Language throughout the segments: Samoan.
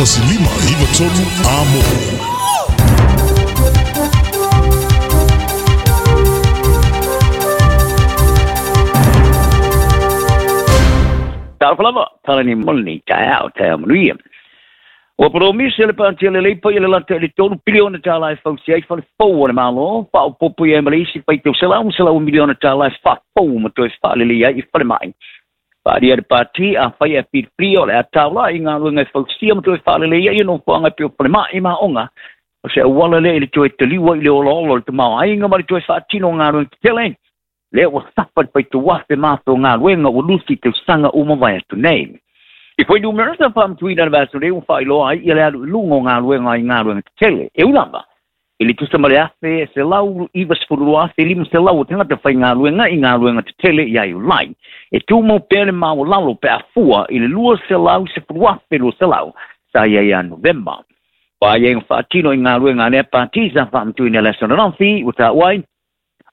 1593 Amo. Talofa lava, tala ni moli nei taeao, taeao manuia. Ua polomisi le Pāti a le Leipa i le lata i le $3 piliona e fausia ai fale fou o le Malo, faaopoopo i ai ma le isi faitau selau ma selau miliona tala e faafou ma toe faalelei ai i falemai. Faalia le pāti a fai e filifilia o le a taula i galuega e fausia ma toe faalelei ai nofoaga e pei o falemai ma aoga. O se auala lea i le toe taliua i le olaola o le tamaoaiga ma le toe faatino o galuega tetele. Lea ua safa le faitauafe ma afe o galuega ua lusi i tausaga uma mavae atu nei. I fuainumera sa faamatuina le vaiaso nei ua faailoa ai ia le alu i luga o galuega i galuega tetele. E ui lava i le tusa ma le 1,192,500 o tagata faigaluega i galuega tetele ia Iulai, e tumau pea le maualalo pe a fua i le 210,200 sa i ai ia Novema. O aiaiga faatino i galuega a lea pati sa faamatuina i le aso ananafi ua taua ai,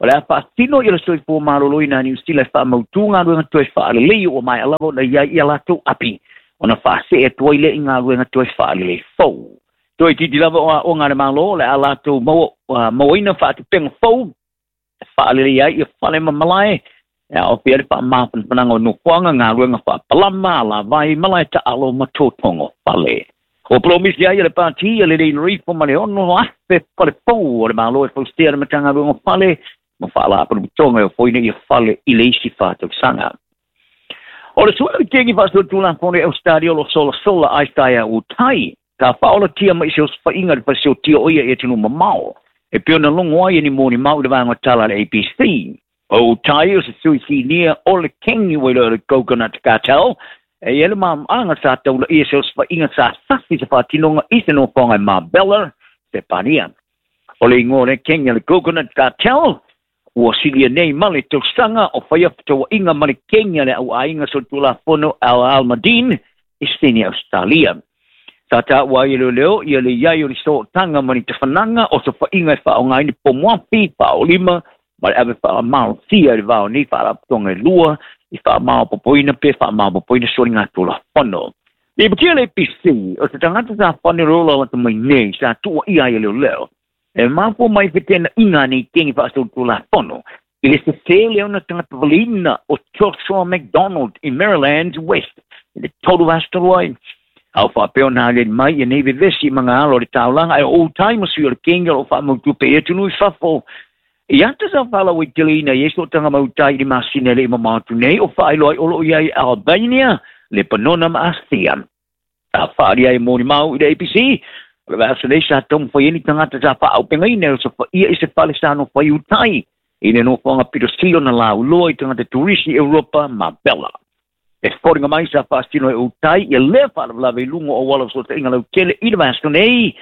o le a faatino i le soifua maloloina a Niu Sila e faamautu galuega toe faalelei ua maea lava ona i ai ia latou api ona faasee atu ai lea i galuega toe faalelei fou. Toe itiiti lava o aoga a le Malo o le a latou mauaina faatupega fou e faalelei ai ia fale ma malae e aofia ai le faamafanafanaga o nofoaga, galuega faapalama, alavai, malae taalo ma totogo fale. Ua polomisi ai le pati a le Lei Rifo ma le 6,000 fale fou o le Malo e fausia le Matagaluega o Fale ma Faalapotopotoga e ofoina ia fale i le isi 4 tausaga. O le suʻe o kengi faasolitulafono i Ausetalia o lo o solasola Isaiah Utai sa faaolatia mai i se osofaiga i le faleseotia o ia i atunuu mamao e pei ona logo ai e ni molimau i le vaega o tala a le ABC. O Utai o se sui sinia o le kengi ua iloa o le Coconut Cartel e i ai le maamaga sa taulaia se osofaiga sa sasi se faatinoga i se nofoaga i Marbella, Sepania. O le igoa o le kengi a le Coconut Cartel ua silia nei ma le tausaga o faia fetauaiga ma le kengi a le auaiga solitulafono Al Almadin i Sydney, Australia. Sa taua ai e leoleo ia le iai o ni sootaga ma ni tafanaga o sofaiga e faaaogaina ni pomoafi, faaolima ma le ave faamalosia i le va o nei faalapotopotoga e lua i faamaopoopoina pe faamaopoopoina soligatulafono. Lipotia le ABC o se tagata sa fane lola lata mai nei sa tuuaia ai e leoleo e mafua mai fetenaiga a nei kengi faasolitulafono i le sesē lea ona tagata valeina o Joshua McDonald i Maryland West i le 3 vaiaso talu ai. A o faapea ona aliali mai ia nei vevesi i magaalo o le taulaga ae o Utai ma sui o le kengi o lo o faamautu pea i atunuu i fafo. I ata sa faalauaiteleina i ai sootaga ma Utai i le masina e le i mamao atu nei o faailoa ai o lo o i ai Albania, Lepanona ma Asia. A faaalia ai molimau i le ABC, o le vaiaso nei sa taumafai ai ni tagata sa faaaupegaina e osofaia i se fale sa nofo ai Utai i le nofoaga pitosili ona lauloa i tagata turisi i Europa ma Bella. E foliga mai sa faasino e Utai ia lea faalavelave i luga o auala o fesootaiga lautele i le vaiaso nei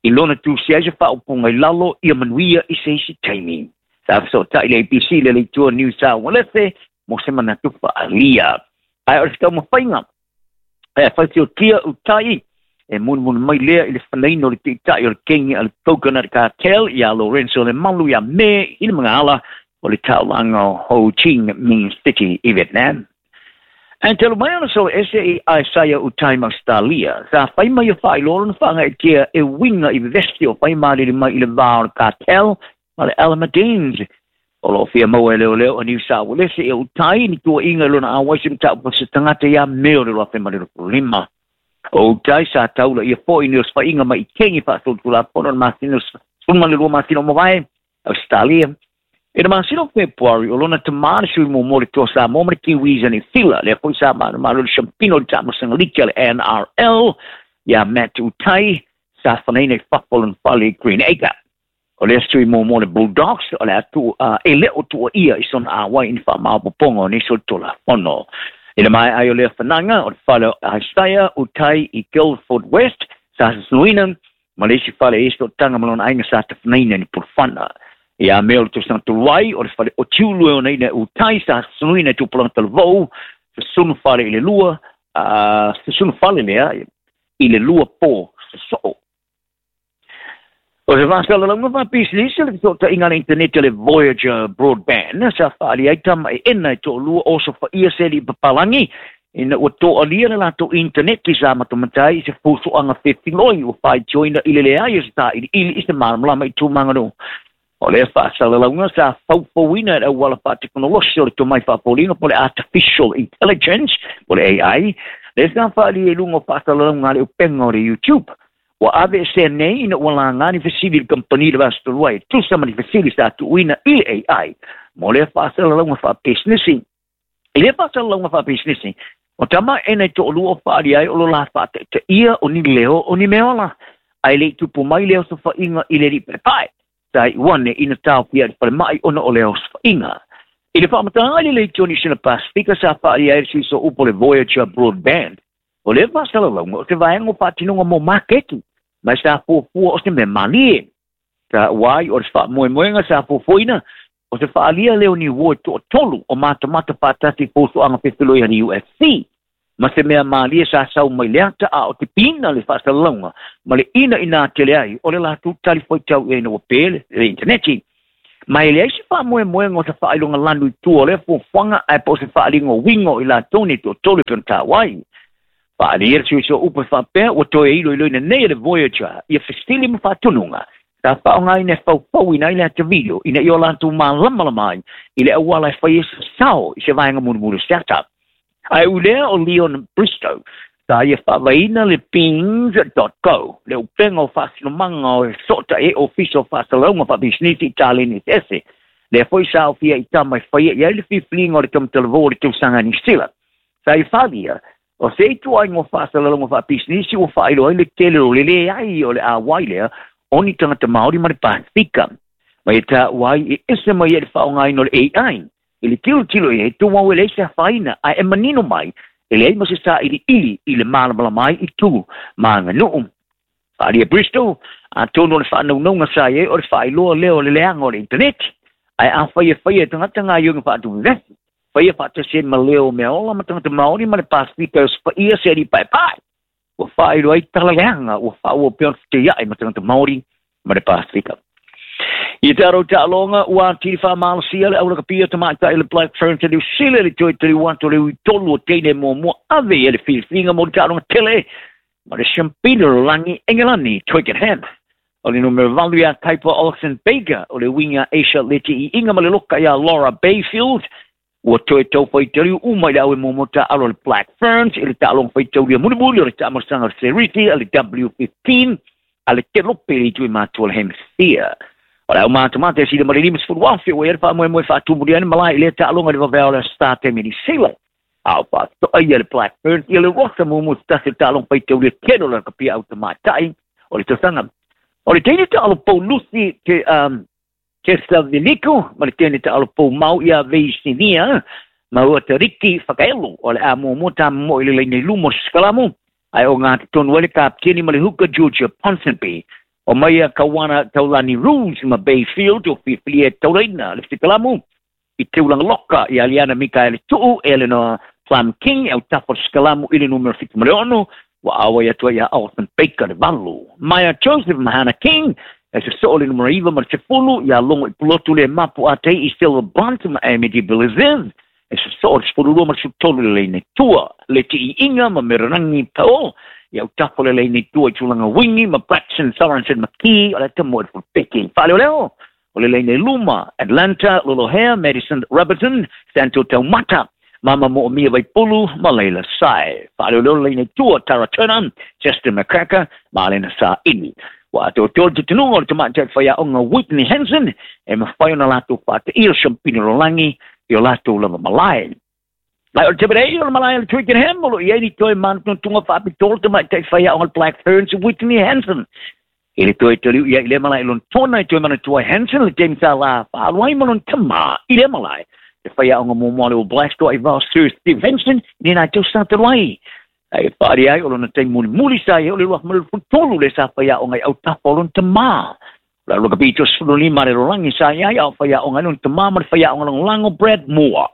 i lona tusia ai se faaupuga i lalo ia manuia i se isi taimi. Sa fesootai le ABC i le leitua New South Wales mo se manatu faaalia. Ae o le taumafaiga e fausiotia Utai e mulimuli mai lea i le fanaina o le taitai o le kengi a le Coconut Cartel ia Lorenzo Lemalu ia Me i le magaala o le taulaga o Ho Chi Minh City i Vietnam. Ae talu mai ona solo ese i Isaiah Utai ma Australia, sa fai mai o faailoa lona faagaeetia e uiga i vevesi o fai malele mai i le va o le cartel ma le Alameddines. O lo o fia maua e leoleo a New South Wales e Utai ni tuuaiga i lona auai se mataupu se tagata ia Me o le 2025. O Utai sa taula ia foi ni osofaiga mai i kengi faasolitulafono le masina 12 masina o mavae Australia. I le masina o Fepuari, o lona tamā le sui muamua o le Toa Samoa ma le Kiwis a Niu Sila, lea foi sa manumalo i le siampina o le taamilosaga liki a le NRL, ia Matt Utai, sa fanaina i fafo o lona fale i Green Acre. O lea sui muamua o le Bulldogs, o le a e le o tuuaia i sona auai i ni faamaopoopoga o nei solitulafono. I le maea ai o lea fanaga, o le fale o Isaiah Utai i Guildford West, sa susunuina, ma le isi fale e i ai sootaga ma lona aiga sa tafanaina ni pulufana. Ia Me o le tausaga talu ai, o le fale o Tiulu e onaina e Utai sa susunuina i tupulaga talavou, susunu fale i le lua, susunu fale lea i le 2 po sosoo. O se faasalalauga faapisinisi le fesootaiga a le internet le Voyager Broadband sa faaalia ai tama e ena e toalua o osofaia se alii papalagi Ina ua to'alia le latou initaneti sa matamatai i se fusu'aga fefiloi ua faitioina i le leai o se tā'ili'ili i se malamalama i tumaganuu. O lea fa'asalalauga sa faufauina e le auala fa'atekonolosi o le tomai fa'apoliga po le artificial intelligence po le AI, lea sa fa'alia i luga o fa'asalalauga a le upega o le YouTube. Ua ave esea nei ina ua lagā ni fesili i le kamupani le vasa e tusa ma ni fesili sa tu'uina i le AI mo lea fa'asalalauga fa'apisinisi. I lea fa'asalalauga fa'apisinisi, o tama e nei to'alua o fa'alia ai o lo la fa'ata'ita'ia o ni leo o ni meola, ae le'i tupu mai lea o sofa'iga i le li'i pa'epae sa i'uane ina taofia i le falema'i ona o lea osofa'iga. I le fa'amataga i le leitioni sina Pasifika sa fa'alia ai le suiso upu o le Voyager Broadband. O lea fa'asalalauga o se vaega o fa'atinoga mo maketi, ma sa fuafua o se mea malie. Sa ua ai o le fa'amoemoega sa fuafuaina o se fa'alia lea o ni uo e to'atolu o matamata fa'atasi foso'aga fefiloi a le UFC ma se mea malie sa sau mai le ata a o te pina le fa'asalalauga ma le ina ina tele ai o le latou tali foitau i ai na ua pē le intaneti. Ma e leai se fa'amoemoega o se fa'ailoga lanu i tua o lea fuafuaga ae po o se fa'aliga o uiga o i latou nei to'atolu e pe ona tāuai. Fa'alia le suisua upu e fa'apea ua toe iloiloina nei e le Voyager ia fesili ma fa'atunuga sa fa'aogaina e faufauina ai le ata video ina ia o latou malamalama ai i le auala e fai ai sasao i se vaega mulimuli o se ata. Ae ulea o Leon Bristow sa ia fa'avaina le Beans.co, le upega o fa'asinomaga o e so'ota'i ai ofisa o fa'asalalauga fa'apisinisi i taleni eseese. Lea foi sa ofia i tama e faia i ai le filifiliga o le tamatalavou o le tausaga Niu Sila. Sa ia fa'alia o se ituaiga o fa'asalalauga fa'apisinisi ua fa'ailoa ai le tele o le leai o le āwai lea o ni tagata Maori ma le Pasifika. Ma e tāua ai e ese mai ai le fa'aogaina o le AI i le tilotilo i ai tumau e leai se afaina, ae e manino mai e leai ma se sā'ili'ili i le malamalama ai i tu ma aganu'u. Fa'alia Bristol, atonu o le fa'anaunauga sa i ai o le fa'ailoa lea o le leaga o le initaneti, ae afai e faia e tagata gaioiga fa'atuvevesi faia fa'atasi ai ma leo o mea ola ma tagata Maori ma le Pasifika e osofa'ia se ali'i pa'epae, ua fa'ailoa ai tala leaga ua fa'aua pea ona feteia'i ma tagata Maori ma le Pasifika. I te aro ta'aloga ua atili fa'amalosia le aulakapia tama'ita'i le Black Ferns a Niu Sila i le toe taliu atu o le ui tolu o teine muamua ave i ai le filifiliga mo le ta'aloga tele ma le siampina o lalagi Engelani Twickenham. O le numera 8 iā Kaipa Olsen Baker, o le uiga Asia Leti'i'iga ma le loka iā Laura Bayfield ua toe tau faitauliu uma i le au e muamua ta'alo le Black Ferns i le ta'aloga faitaulia mulimuli o le ta'amalosaga o le Seriti a le W15 a le Kelope i le itu i matua o le Hemisphere. O le au matamata e sila ma le 50,000 ua i ai le fa'amoemoe fa'atumulia ai le malae i lea ta'aloga i le vavea o le Star Temi Niu Sila. A o fa'ato'a ia le Black Ferns ia le rosa muamua se tasi o le ta'aloga faitaulia tele o le lakapia au tamāta'i o le tausaga. O le teine ta'alo Paulusi te Tessa Veliku ma le teine ta'alo poumau ia Veisinia ma ua Tariki Whakaelo o le a muamua tāmomo'o i le laina i luma o se sikalamu, ae o gā totonu ai le kapiteni ma le huka Georgia Ponsonby. O mai a Kauana Taulani Rules ma Bayfield o fiafilia e taulaina le sikalamu i teulaga loka ia Liana Mikaele Tu'u, Eleanor Plum King e autafa o le sikalamu i le numera 76 ua auai atu ai ia Alison Baker le 8. Maya Joseph Mahana King e soso'o le numera 9 ma le 10 ia Logo i Pulotu le mapu atei i Silver Blunt ma Amity Biliziv e soso'o le 12 ma le 13 le leina i tua. Le ti'i'iga ma Mererangi Paul ia autafa le leina i tua i tulaga wingi ma Braxton Sorensen McKee o le atamo i le fulupeki. Fa'aleoleo o le leina i luma Atlanta Lolohea, Madison Robertson, Santo Taumata, Mama Mo'omia Vaipulu ma Leila Sai. Fa'aleoleo le leina i tua Tara Turner, Justin McCracker ma Alena Sa'ili. Ua atoatoa le tutunuga o le tama'ita'i faia'oga Whitney Hansen e mafai ona latou fa'ataʻia le siampina lalolagi i o latou lava malae. Ae o le tamalei o le malae o le Twickenham o lo i ai ni toe manatunatuga fa'apitoa le tama'ita'i faia'oga le Black Ferns Whitney Hansen. I le toe taliu ia i lea malae i lona tona e toe manatua ai Hansen le taimi sa la fa'alu ai ma lona tamā i lea malae. Le faia'oga muamua le All Blacks to'a i vao Sir Steve Hansen i lena tausaga talu ai. Ae fa'alia ai o lona taimi mulimuli sa i ai o le 2013 le sa faia'oga i autafa o lona tamā. O le alu kapito 15 le lalolagi sa i ai a o faia'oga ai lona tamā ma le faia'oga lagolago Brad Moore.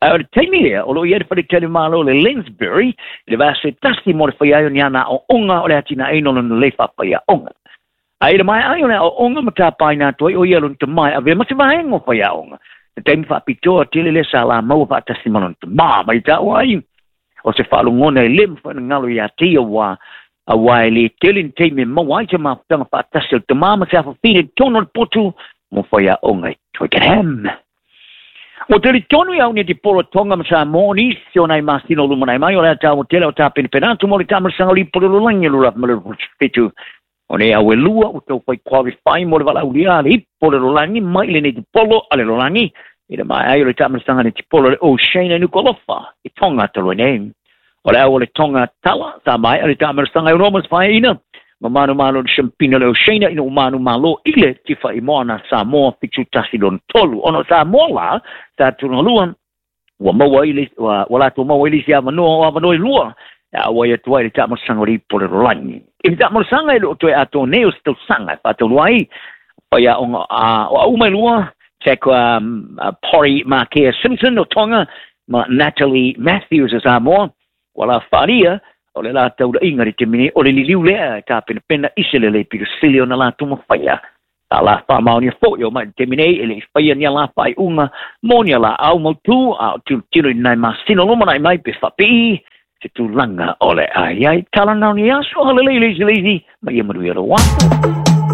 Ae o le taimi lea, o lo i ai le faletele malo le Lansbury, i le vasa e tasi mo le fai ai o ni ana a'o'oga o le atina'aina o lona lei fa'afaia'oga. Ae i le maea ai o le a'o'oga ma tapaina atu ai o ia lona tamā e avea ma se vaega o faia'oga. Le taimi fa'apitoa tele lea sa la maua fa'atasi ma lona tamā mai ta'ua ai. O se faalogona e lē mafai ona galo iā te ia uā auā e lē tele ni taimi e maua ai se mafutaga faatasi o le tamā ma se afafine i totonu o le potu mo faiaoga i Twickenham. Ua talitonu i au nei polo Tonga ma Samoa nisi o nai masina o lumanai mai o le a taua tele o tapenapena atu mo le taamilosaga o le ipu o le lalolagi 2027. O nei au e lua ua taufai qualify mo le valaaulia a le ipu o le lalolagi mai i lenei polo a le lalolagi i le maea ai o le taamilosaga netipolo le Oceania i Nuku'alofa i Tonga talu ai nei. O le au o le Tonga tala sa maea le taamilosaga e ono ma se faeaina ma manumalo le siampina le Oceania ina ua manumalo i le tifa i moana Samoa 7-1 3. Ona o Samoa la sa tulagalua ua maua ai le ua latou maua ai le isi avanoa o avanoa e lua e auai atu ai le taamilosaga o le ipu o le lalolagi. I le taamilosaga e le o toe atoa nei o se tausaga e faataulua ai faiaoga o au mai lua Jack Pori Makea Simpson o Tonga ma Natalie Matthews o Samoa ua la faalia o le la taulaiga le taimi nei o le liliu lea e tapenapena i se lelei pito sili ona latou mafaia. Sa la faamaonia foʻi o mai le taimi nei e leʻi faia ni alā faaiuga mo ni alaau mautū a o tilotilo i nai masina o lumanai mai pe faapii se tulaga o le a iai. Tala na o ni aso agalelei le isi le isi ma ia manuia lou aso.